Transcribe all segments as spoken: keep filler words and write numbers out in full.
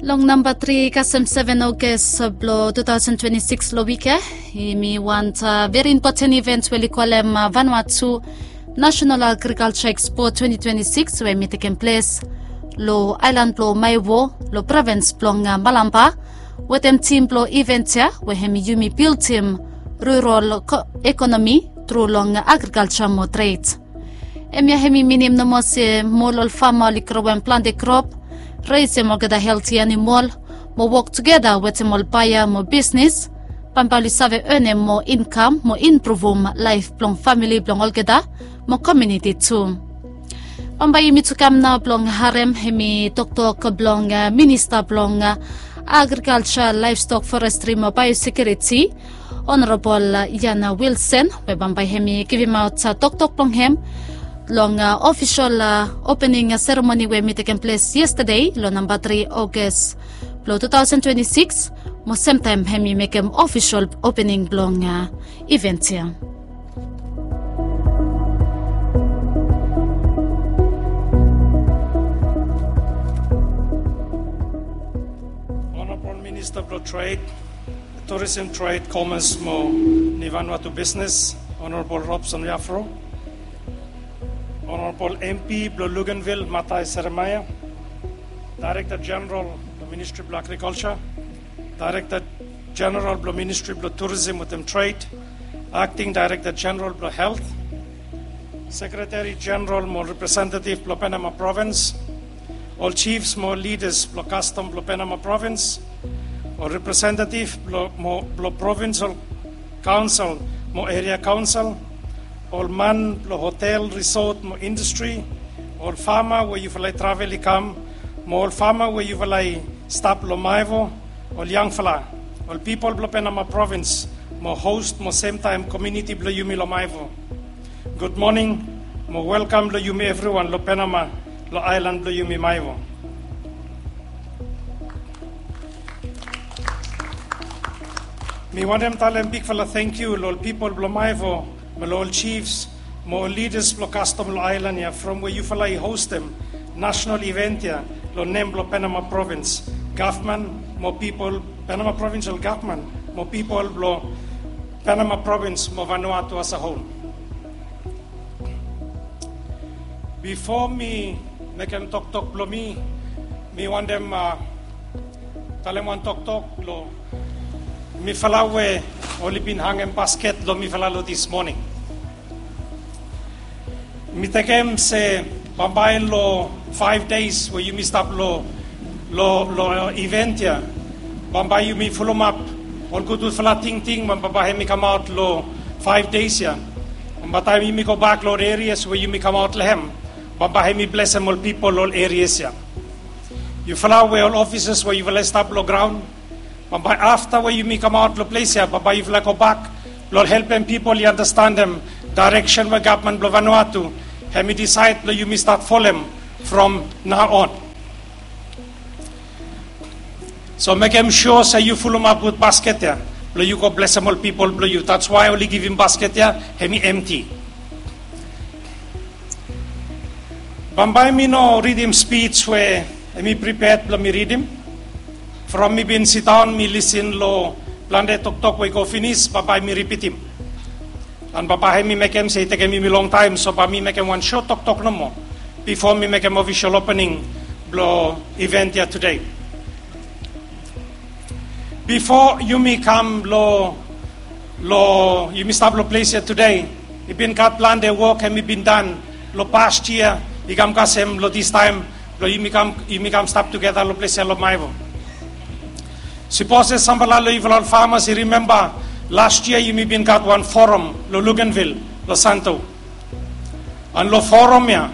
Long namba tri kasem seven August blong two thousand twenty-six long wik ya, yumi want veri impoten event we oli kolem Vanuatu National Agriculture Expo twenty twenty-six we hemi tekem ples long aelan blong Maewo, long provins blong Malampa, wetem tim blong event ya we hemi yumi bildim rural ekonomi tru long agrikalja mo tred. Hemia hemi minim nomo se moa ol fama oli growem plante krop, resem olgeta helti animol, mo wok tugeta wetem ol baea mo bisnis, bambae oli save enem moa inkam mo impruvum laef blong famili blong olgeta mo komuniti tu. Bambae yumi tu kam nao blong harem hemi toktok blong minista blong agrikalja, laevstok, forestri mo baeosekiuriti, Honorabol Ian Wilson, we bambae hemi givimaot toktok blong hem long ofisol opening seremoni we hemi tekem ples yestade long namba tri August blong two thousand twenty-six, mo semtaem hemi mekem ofisol opening blong event ya. Honorabol Minista blong Tred, Tourism, Trade, Commerce mo Vanuatu Business, Honorabol Robson Iafro, Honorabol MP blong Luganville Matai Seremaia, Daerekta Jeneral blong Ministri blong Agrikalja, Daerekta Jeneral blong Ministri blong Tourism wetem Tred, Akting Daerekta Jeneral blong Helt, Sekretari Jeneral mo representetiv blong Penama Provins, ol jifs mo lidas blong kastom blong Penama Provins, ol representetiv blong provinsol kaonsel mo eria kaonsel, ol man blong hotel, risot mo indastri, ol fama we yufala i travel i kam, mo ol fama we yufala i stap long Maewo, ol yangfala, ol pipol blong Penama Provins mo hos mo semtaem komuniti blong yumi long Maewo. Gudmoning mo welkam long yumi evriwan long Penama, long aelan blong yumi Maewo. Mi wantem talem bigfala tangkiu long ol pipol blong Maewo, mo long ol jifs mo ol lidas blong kastom long aelan ya from we yufala i hostem nasonal iven ya long nem blong Penama Provins gavman mo pipol, Penama Provinsol Gavman mo pipol blong Penama Provins mo Vanuatu as a whole. Bifo mi mekem toktok blong mi, mi wantem talem wan toktok long mifala we oli bin hangem basket long mifala long dis moning. Mi tekem se bambae long faef deis we yumi stap long, long, long iven ya, bambae yumi fulumap ol gudgudfala tingting we bambae hemi kamaot long faef deis ya. Bambae taem yumi gobak long ol erias we yumi kamaot long hem, bambae hemi blesem ol pipol long ol erias ya. Yufala we ol ofisas we yufala i stap long graon, bambae afta we yumi kamaot long ples ya, bambae yufala gobak blong helpem pipol i andastanem daereksen we gavman blong Vanuatu hemi disaed blong yumi stat folem from nao on. So mekem sua se yu fulumap gud basket ya blong yu go blesem ol pipol blong yu. That's why oli givim basket ya hemi emti. Bambae mi no ridim spij we hemi priped blong mi ridim. From mi bin sidaon mi lisin long plante toktok we i go finis, bambae mi ripitim. An bambae hemi mekem se i tekem yumi longtaem, so bae mi mekem wan sot toktok nomo bifo mi mekem ofisol opening blong iven ya tude. Bifo yumi kam long, long yumi stap long ples ya tude, i bin gat plante wok hemi bin dan long past yia i kam kasem long distaem blong yumi kam, yumi kam stap tugeta long ples ya long Maewo. Sipos se samfala long yufala ol famas i rimemba, las yia yumi bin gat wan foram long Luganville long Santo. An long foram ya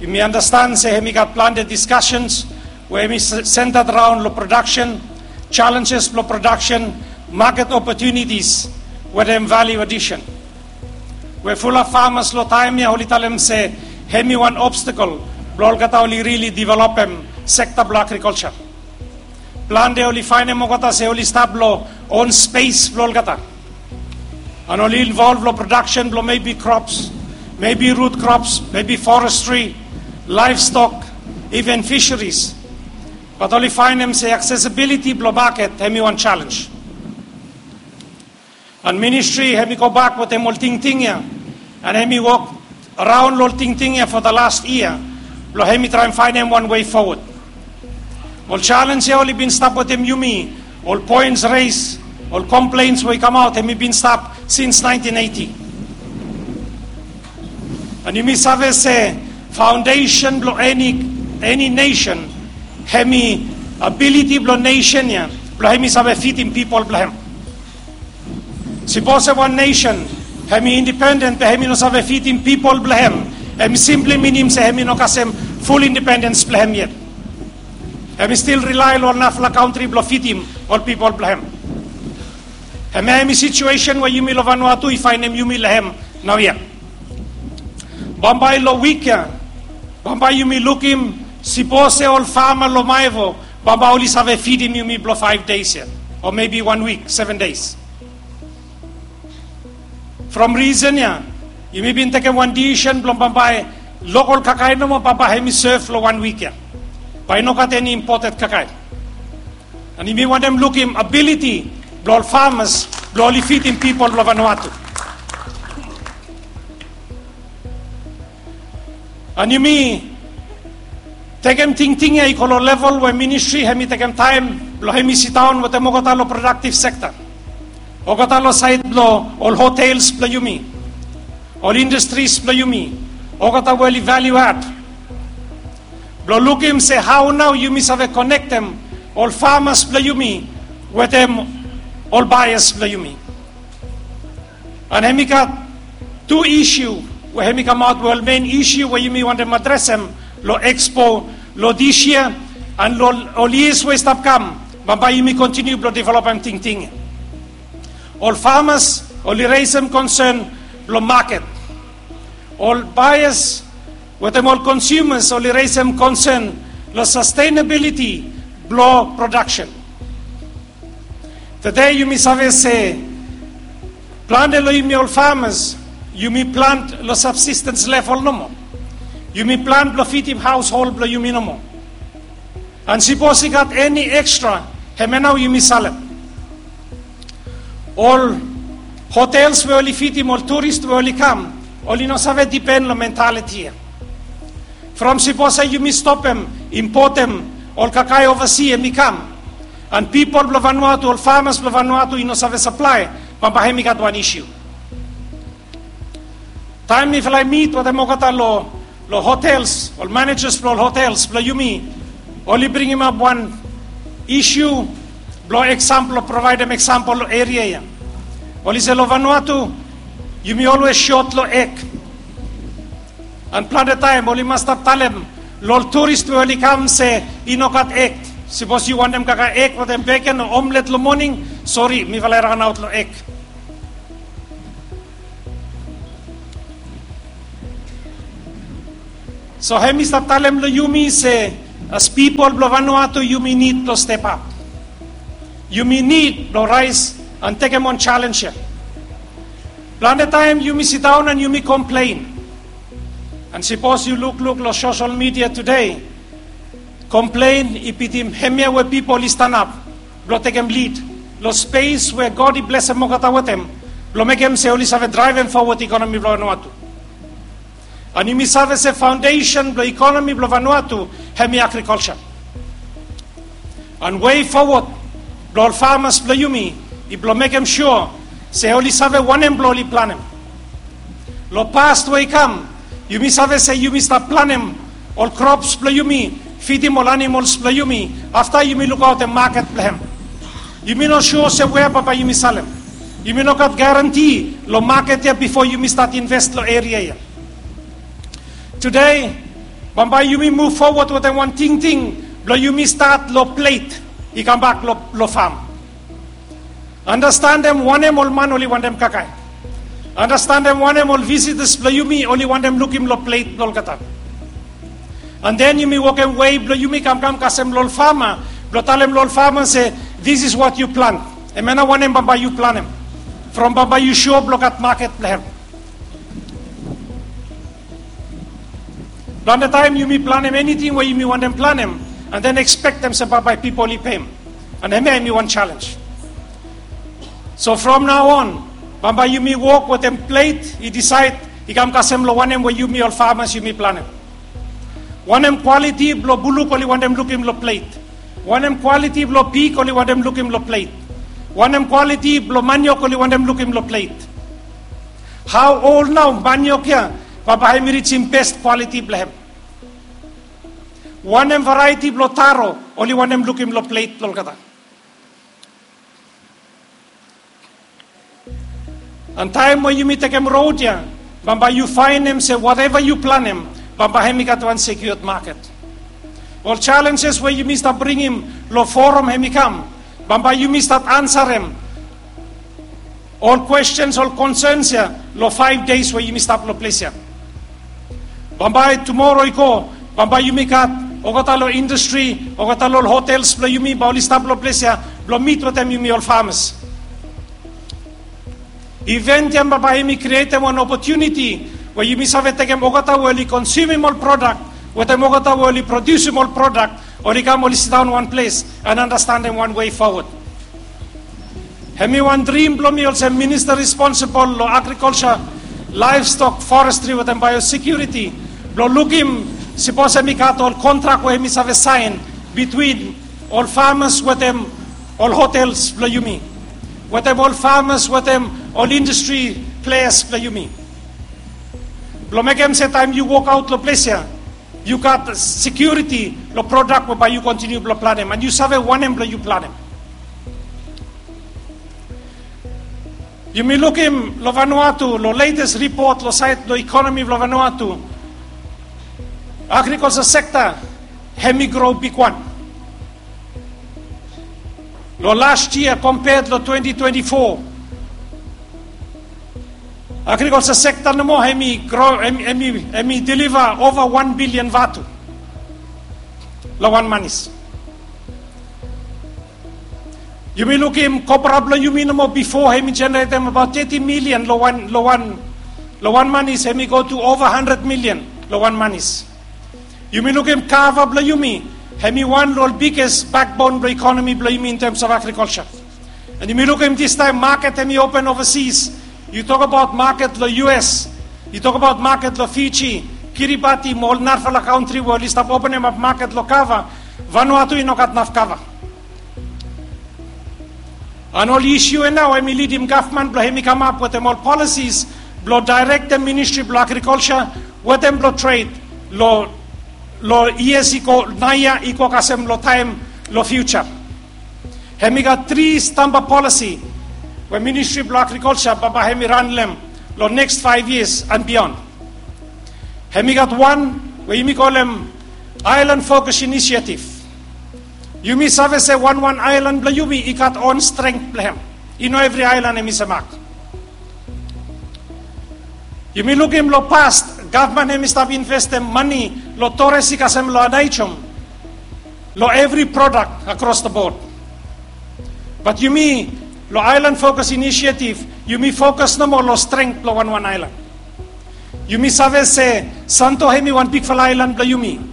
yumi andastan se hemi gat plante diskasens we hemi sentat raon long prodaksen, jalenjes blong prodaksen, maket opotunitis wetem valiu adisen. We fulap famas long taem ya oli talem se hemi wan obstakel blong olgeta oli rili developem sekta blong agrikalja. Plante oli faenem olgeta se oli stap long on spes blong olgeta. An oli involv long prodaksen blong mebi krops, mebi rut krops, mebi forestri, laevstok, iven fiseris. Bat oli faenem se aksesibiliti blong maket hemi wan jalenj. An ministri hemi gobak wetem ol tingting ya, an hemi wok raon long ol tingting ya fo the last yia blong hemi traem faenem wan wei fowod. Ol jalenj ya oli bin stap wetem yumi, ol poens res, ol kompleins we i kamaot, hemi bin stap sins naentin eiti. An yumi save se faondesen blong eni, eni nesen hemi abiliti blong nesen ya blong hemi save fidim pipol blong hem. Sipos se wan nesen hemi indipenden be hemi no save fidim pipol blong hem, hemi simpli minim se hemi no kasem ful indipendens blong hem yet. Hemi stil rilae long ol narafala kantri blong fidim ol pipol blong hem. Hemia hemi situesen we yumi long Vanuatu i faenem yumi long hem naoia. Bambae long wik ya, bambae yumi lukim, sipos se ol fama long Maevo, bambae oli save fidim yumi blong faef deis ya, o mebi wan wik, seven days. From risen ya, yumi bin tekem wan disisen blong bambae lokol kakae nomo bambae hemi sev long wan wik ya. Bae i no gat eni impoted kakae. An yumi wantem lukim abiliti blong ol famas blong oli fidim pipol blong Vanuatu. An yumi tekem tingting ya i go long level we ministri hemi tekem taem blong hemi sidaon wetem olgeta long prodaktiv sekta, olgeta long saed blong ol hotels blong yumi, ol indastris blong yumi, olgeta we oli valiu ad, blong lukim se hao nao yumi save konektem ol famas blong yumi wetem ol baeas blong yumi. An hemi gat tu isiu we hemi kamaot we ol men isiu we yumi wantem adresem long ekspo long dis yia, an long ol yias we i stap kam, bambae yumi kontiniu blong developem tingting ya. Ol famas oli resem konsen blong maket. Ol baeas wetem ol konsumas oli resem konsen long sastenabiliti blong prodaksen. Tede yumi save se plante long yumi ol famas, yumi plant long sabsistens level nomo. Yumi plant blong fidim haoshol blong yumi nomo. An sipos i gat eni ekstra, hemia nao yumi salem. Ol hotels we oli fidim ol turis we oli kam, oli no save dipen long mentaliti ya. From sipos se yumi stopem impotem ol kakae ovasi hemi kam, an pipol blong Vanuatu, ol famas blong Vanuatu i no save saplae, bambae hemi gat wan isiu. Taem mifala i mit wetem olgeta long, long hotels, ol manejas blong ol hotels blong yumi, oli bringimap wan isiu blong eksampol, provaedem eksampol long eria ya. Oli se long Vanuatu yumi olwes sot long eg. An plante taem oli mas stap talem long ol turis we oli kam se i no gat eg. Sipos yu wantem kakae eg wetem beken o omlet long moning, sori, mifala i raonaot long eg. So hemi stap talem long yumi se, as pipol blong Vanuatu yumi nid blong step ap. Yumi nid blong raes an tekem wan jalenj ya. Plante taem yumi sidaon an yumi komplen. An sipos yu lukluk long sosel midia tede, komplen i bitim hemia we pipol i stanap blong tekem lid long spes we God i blesem olgeta wetem, blong mekem se oli save draevem fowod ikonomi blong Vanuatu. An yumi save se faondesen blong ikonomi blong Vanuatu hemi agrikolja. An wei fowod blong ol famas blong yumi i blong mekem sua se oli save wanem blong oli planem. Long past we i kam, yumi save se yumi stap planem ol krops blong yumi, fidim ol animols blong yumi, afta yumi lukaotem maket blong hem. Yumi no sua se wea bambae yumi salem. Yumi no gat garanti long maket ya bifo yumi stat inves long eria ya. Tede, bambae yumi muv fowod wetem wan tingting blong yumi stat long plet i kambak long, long fam. Andastanem wanem ol man oli wantem kakae. Andastanem wanem ol visitas blong yumi oli wantem lukim long plet blong olgeta. An den yumi wokem wei blong yumi kamkam kasem long ol fama, blong talem long ol fama se, "This is what you plant." Hemia nao wanem bambae yu planem. From bambae yu sua blong gat maket blong hem. Plante taem yumi planem eniting we yumi wantem planem, and then ekspektem se bambae pipol i pem. And hemia hemi wan challenge. So from now on, bambae yumi wok wetem plet i disaed, i kam kasem lo wanem we yumi ol famas yumi planem. Wanem kwaliti blo buluk oli wantem lukim lo plet? Wanem kwaliti blo pig oli wantem lukim lo plet? Wanem kwaliti blo maniok oli wantem lukim lo plet? Hao ol nao maniok ya bambae hemi rijim bes kwaliti blo hem? Wanem varieti blo taro oli wantem lukim lo plet blo olgeta? And taem we yumi tekem rod ya, bambae yu faenem se wateva yu planem, bambae hemi gat wan sekiuad maket. Ol challenges we yumi stap bringim lo forum hemi kam, bambae yumi stap ansarem ol questions, ol concerns ya lo five days we yumi stap lo ples ya. Bambae tumoro i go, bambae yumi gat olgeta lo industry, olgeta lo hotels blo yumi bae oli stap lo ples ya blo mit wetem yumi ol famas. Event ya bambae hemi krietem wan opotuniti we yumi save tekem olgeta we oli konsumim ol prodak wetem olgeta we oli prodiusim ol prodak, oli kam oli sidaon wan ples and andastanem wan wei fowod. Hemi wan drim blo mi olsem minista responsibol lo agrikolsa, laevstok, forestri wetem baeosekiuriti, blo lukim sipos hemi gat ol kontrak we hemi save saen bitwin ol famas wetem ol hotels blo yumi, wetem ol famas wetem ol indastri pleas blo yumi, blo mekem se taem yu wokaot lo ples ya, yu gat sekiuriti lo prodak we bae yu kontiniu blo planem, and yu save wanem blo yu planem. Yumi lukim lo Vanuatu, lo letes ripot lo saed lo ikonomi blo Vanuatu, agrikolsa sekta hemi gro bigwan. Lo las yia kompea lo twenti twenti fo, agrikolsa sekta nomo hemi gro, hemi, hemi, hemi deliva ova wan bilian vatu lo wan manis. Yumi lukim kopra blo yumi nomo bifo hemi jeneretem abaot teti milian lo wan, lo wan, lo wan manis, hemi go tu ova handred milian lo wan manis. Yumi lukim kava blo yumi, hemi wan lo ol biges bakbon blo ikonomi blo yumi in terms of agrikolsa. And yumi lukim distaem maket hemi open ovasis. Yu tokabaot maket lo U S, yu tokabaot maket lo Fiji, Kiribati mo ol narafala kantri we oli stap openemap maket lo kava. Vanuatu i no gat naf kava. And ol isu ya nao hemi lidim gavman blo hemi kamap wetem ol policies blo daerektem ministri blo agrikolsa wetem blo tred lo, lo yias i go, naoia i go kasem lo taem lo fiuja. Hemi gat tri stamba polisi we ministri blo agrikolsa bambae hemi ran lo hem lo neks faef yias and bion. Hemi gat wan we yumi kolem Island Focus Initiative. Yumi save se wanwan aelan blo yumi i gat on strength blo hem. I no evri aelan hemi semak. Yumi lukim lo past, gavman hemi stap investem mane lo toresi kasem lo Aneityum lo evri prodak across the board. Bat yumi lo Island Focus Initiative, yumi fokus nomo lo strength blo wanwan aelan. Yumi save se Santo hemi wan bigfala aelan blo yumi.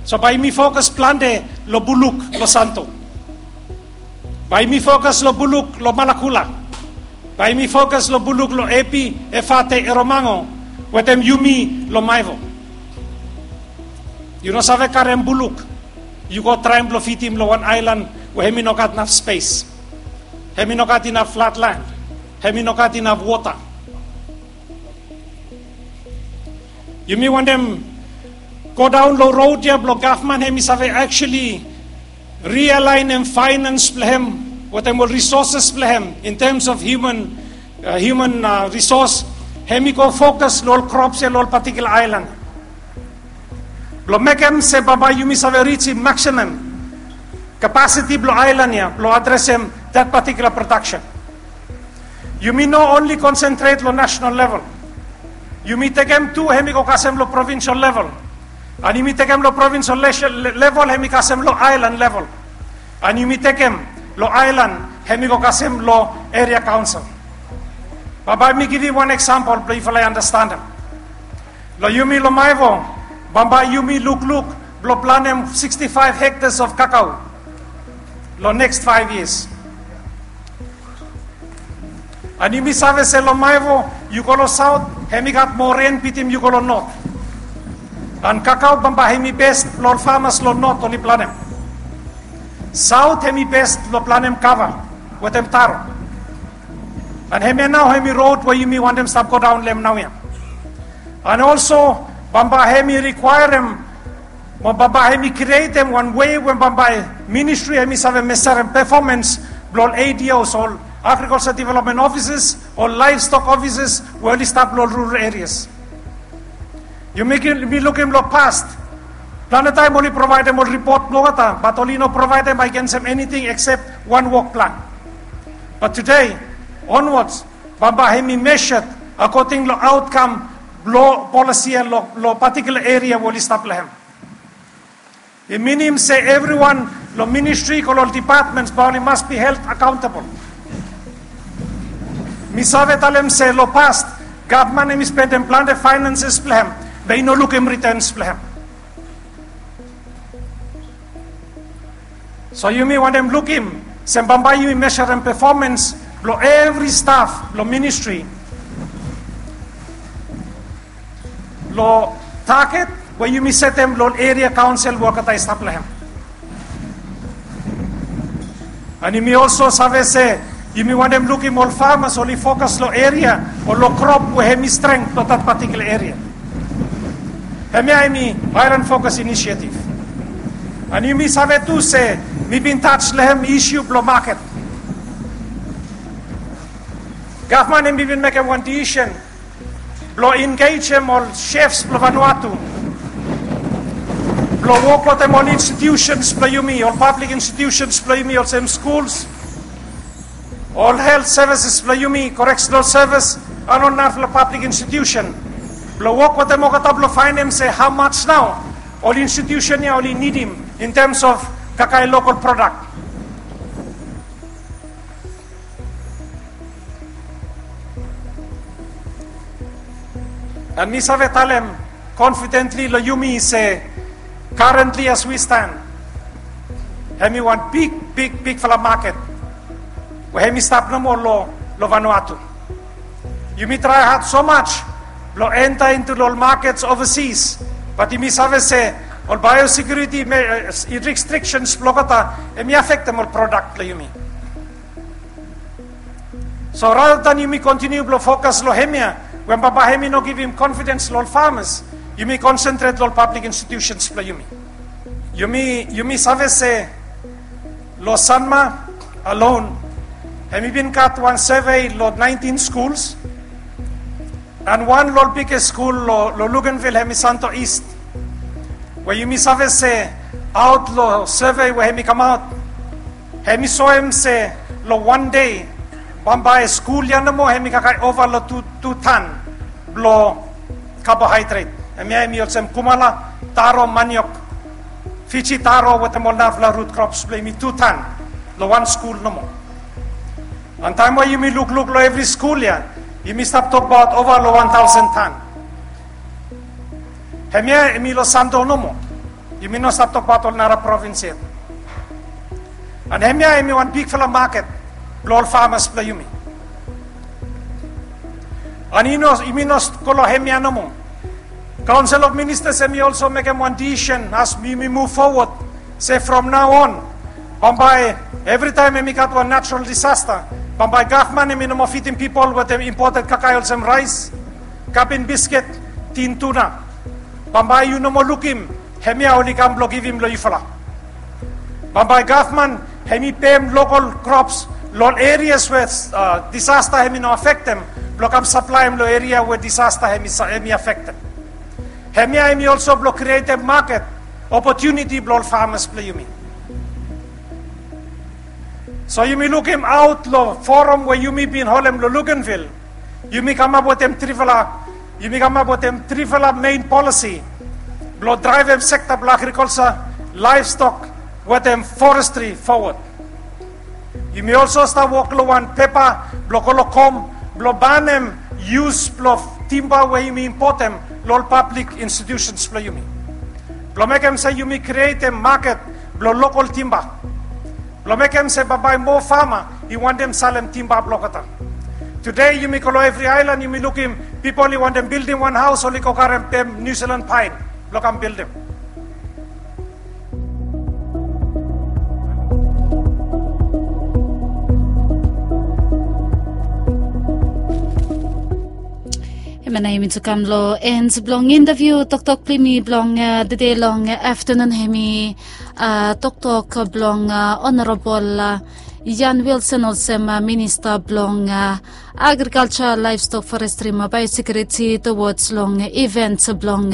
So bae yumi fokus plante lo buluk lo Santo. Bae yumi fokus lo buluk lo Malakula. Bae yumi fokus lo buluk lo Epi, Efate, Eromango wetem yumi lo Maewo. Yu no save karem buluk yu go traem blo fidim lo wan aelan we hemi no gat naf spes. Hemi no gat inaf flatland. Hemi no gat inaf wota. Yumi wantem godaon lo rod ya blo gavman hemi save actually rialaenem faenans blo hem wetem ol risoses blo hem in terms of human, human risos. Hemi go fokus lo ol krops ya lo ol patikula aelan blo mekem se bambae yumi save rijim maksimam kapasiti blo aelan ya blo adresem that patikula prodaksen. Yumi no onli konsentret lo nasonal level. Yumi tekem tu hemi go kasem lo provinsel level. An yumi tekem lo provinsel level hemi kasem lo aelan level. An yumi tekem lo aelan hemi go kasem lo eria kaonsel. Bambae mi givim wan eksampol blo yufala i andastanem. Lo yumi lo Maewo, bambae yumi lukluk blong planem sixty-five hectares of kakao long next five years. And yumi save se long Maewo yu go long saot, hemi gat moa ren bitim yu go long not. And kakao bambae hemi bes blong ol famas long not oli planem. Saot hemi bes blong planem kava wetem taro. And hemia nao hemi rod we yumi wantem stap godaon long hem naoia. And also bambae hemi rikwaerem mo bambae hemi krietem wan wei we bambae ministri hemi save meserem pefomens blong ol A D Os, ol agriculture development offices, ol livestock offices we oli stap long rural areas. Yumi lukim long past, plante taem oli provaedem ol ripot blong olgeta, bat oli no provaedem agensem eniting eksep wan wok plan. Bat tude onwards bambae hemi measured according long aotkam blong polisi ya long patikula eria we oli stap long hem. I minim se evriwan long ministri, go long ol departments, bae oli mas be held accountable. Mi save talem se long past gavman hemi spendem plante finances blong hem, be i no lukim returns blong hem. So yumi wantem lukim se bambae yumi meserem pefomens blong evri staf blong ministri long target we yumi setem long eria kaonsel we olgeta i stap long hem. And yumi also save se yumi wantem lukim ol famas oli fokas long eria o long krop we hemi strength blong dat patikula eria. Hemia hemi Island Focus Initiative. And yumi save tu se mi bin taj long hem isiu blong maket. Gavman hemi bin mekem wan disisen blong engejem ol chefs blong Vanuatu blong wok wetem ol institutions blong yumi, ol public institutions blong yumi, olsem schools, ol health services blong yumi, correctional service, and ol narafala public institution blong wok wetem olgeta blong faenem se how much nao ol institution ya oli nidim in terms of kakae local product. And mi save talem confidently long yumi se currently as we stand, hemi wan big, big, bigfala maket we hemi stap nomo long Vanuatu. Yumi trae had so much blong enta into ol markets overseas, bat yumi save se ol biosecurity restrictions blong olgeta hemi afektem ol product blong yumi. So rather than yumi kontiniu blong fokas long hemia we bambae hemi no givim confidence long ol farmers, yumi concentrate long ol public institutions blong yumi. Yumi save se long Sanma alone hemi bin gat wan survey long nineteen schools, and wan long ol biggest skul long Luganville hemi Santo East, we yumi save se aot long survey we hemi kamaot, hemi soem se long wan dei bambae skul ya nomo hemi kakae ova long tu tan blong carbohydrate. Hemia hemi olsem kumala, taro, maniok, Fiji taro wetem ol narafala root crops blong yumi, tu tan long wan skul nomo. And taem we yumi lukluk long evri skul ya, yumi stap tokbaot ova long wan taosen tan. Hemia hemi long Santo nomo. Yumi no stap tokbaot ol nara provins yet. And hemia hemi wan bigfala maket blong ol farmers blong yumi. And yumi no go long hemia nomo. Council of Ministers hemi also mekem wan decision as yumi move forward se from now on, bambae evritaem hemi gat wan natural disaster, bambae gavman hemi no moa fidim pipol wetem imported kakae olsem raes, kabin bisket, tin tuna. Bambae yu no moa lukim hemia oli kam blong givim long yufala. Bambae gavman hemi pem local crops long ol erias we disaster hemi no afektem, blong kam saplaem long eria we disaster hemi afektem. Hemia hemi also blong krietem maket opotuniti blong ol farmers blong yumi. So yumi lukim aot long forum we yumi bin holem long Luganville, yumi kamap wetem trifala, yumi kamap wetem trifala mein polisi blong draevem sekta blong agriculture, livestock wetem forestry forward. Yumi also stap wok long wan pepa blong go long kom blong banem yus blong timba we yumi impotem long ol public institutions blong yumi. Blong mekem se yumi krietem maket blong lokol timba. Blong mekem se bambae moa fama i wantem salem timba blong olgeta. Tude yumi go long evri aelan yumi lukim pipol i wantem bildim wan haos oli go karem pem New Zealand paen blong kam bildim. Hemia nao yumi tu kam long en blong intaviu toktok blong yumi blong tede long aftanun. Hemi toktok blong Honorabol Ian Wilson olsem Minista blong Agrikalja, Laevstok, Forestri mo Baeosekiuriti towards long iven blong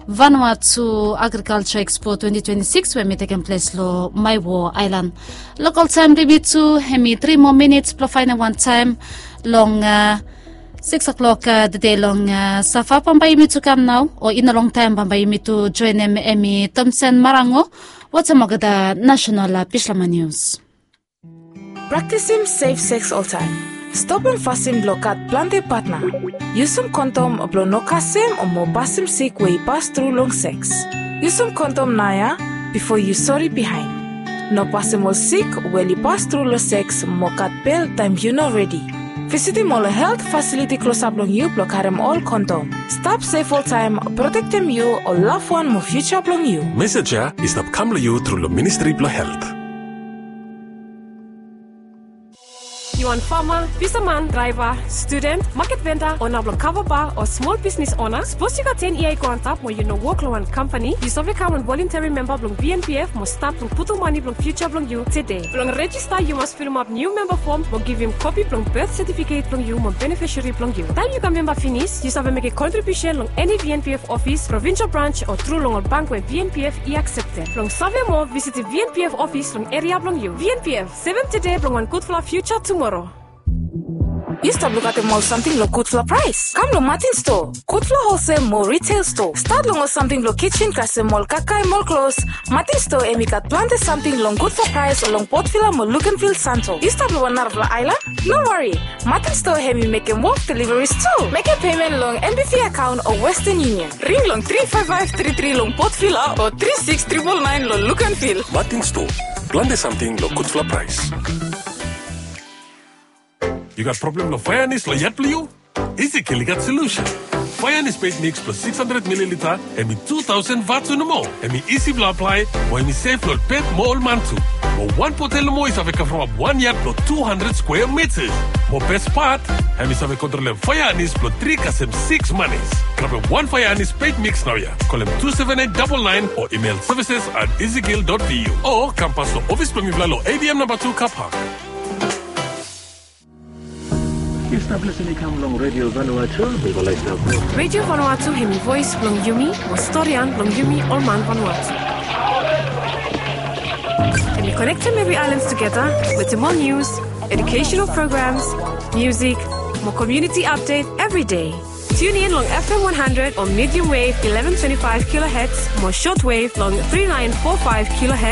Vanuatu Agrikalja Ekspo twenti twenti sikis we hemi tekem ples long Maewo aelan. Lokol taem blong yumi tu hemi tri moa minits blong faenem wan taem long sikis klok tede long Sava. Bambae yumi tu kam nao o i no longtaem bambae yumi tu joenem hemi Tomsen Marango wetem olgeta nasenal Bislama nius. Praktisim sef seks oltaem. Stopim fasin blong gat plante patna. Yusum kondom blong no kasem o mo pasim sik we i pas tru long seks. Yusum kondom naoia bifo yu sori bihaen. No pasim ol sik we oli pas tru long seks mo gat bel taem yu no redi. Visitim ol helt fasiliti klosap long yu blong karem ol kondom. Stap sef oltaem, protektem yu, ol lavwan mo fiuja blong yu. Mesej ya i stap kam long yu tru long Ministri blong Helt. Yu wan fama, fisaman, draeva, studen, maket venda, ona blong kava ba o smol bisnis ona? Sapos yu gat ten yia i go antap mo yu no wok long wan kampani, yu save kam wan volunteri memba blong V N P F mo stat blong putum mane blong fiuja blong yu tede. Blong rejista yu mas filimap niu memba fom mo givim kopi blong bet setifiket blong yu mo benefisari blong yu. Taem yu kam memba finis, yu save mekem kontribiusen long eni V N P F ofis, provinsel brans o tru long ol bank we V N P F i akseptem. Blong save moa, visitim V N P F ofis long eria blong yu. V N P F, sevem tede blong wan gudfala fiuja tumoro. Yu stap lukaotem ol samting long gudfala praes? Kam long Martin Store, gudfala holsel mo riteil stoa. Stat long ol samting blong kijen kasem ol kakae mo ol klos, Martin Store hemi gat plante samting long gudfala praes long Port Vila mo Luganville Santo. Yu stap long wan narafala aelan? No wari, Martin Store hemi mekem wok deliveries tu. Mekem pemen long N B V akaon o Western Union. Ring long tri faef faef tri tri long Port Vila o tri sikis tripol naen long Luganville. Martin Store, plante samting long gudfala praes. Yu gat problem long faeanis long yat blong yu? Ezekiel i gat solusen. Faeanis peit miks blong sikis handred mililita, hemi tu taosen vatu nomo. Hemi isi blong aplae, mo hemi sef long ol pet mo ol man tu. Mo wan botel nomo i save kavremap wan yat blong tu handred skwea mitas. Mo bes pat, hemi save kontrolem faeanis blong tri kasem sikis manis. Grabem wan faeanis peit miks naoia. Kolem tu seven eight double nine o email services at ezekiel dot V U. O kam pas long ofis blong mifala long A D M namba tu Car Park. Yu stap lisin i kam long Radio Vanuatu, Viva Lifestyle Group. Radio Vanuatu hemi voes blong yumi, mo storian blong yumi ol man Vanuatu. Hemi konektem evri aelan tugeta wetem ol nius, educational programs, musik, mo community update evri dei. Tune in long F M one hundred o medium wave eleven twenty-five kilohertz mo shortwave long three nine four five kilohertz.